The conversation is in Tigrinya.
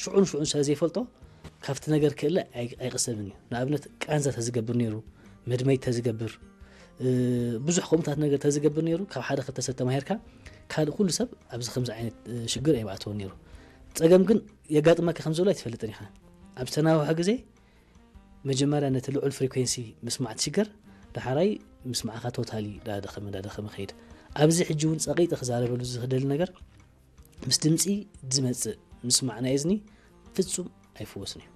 ሽዑን ሽዑን ስለ ዘይፈልጦ ካብቲ ነገር ክእለ ኣይቅሰብን እዩ። ንኣብነት ቃንዛ ተዝገብር ነይሩ፣ መድመይ ተዝገብር፣ ብዙሕ ከምኡታት ነገር ተዝገብር ነይሩ፣ ካብ ሓደ ክልተ ሰብ ተማሂርካ ካልእ ኩሉ ሰብ ኣብዚ ከምዚ ዓይነት ሽግር ኣይምኣተወን ነይሩ። ጸገም ግን የጋጥመካ ከም ዘሎ ኣይትፈልጥን ኢኻ። ኣብ ዝተናውሐ ግዜ መጀመርያ ነቲ ልዑል ፍሪኩንሲ ምስማዕ ትሽገር፣ ዳሓራይ ምስማዕካ ቶታሊ ዳደኸመ ዳደኸመ ከይድ። ኣብዚ ሕጂ እውን ጸቂጠ ክዛረበሉ ዝኽደሊ ነገር ምስ ድምፂ ዝመፅእ ምስማዕ ናይ እዝኒ ፍፁም ኣይፍወስን እዩ።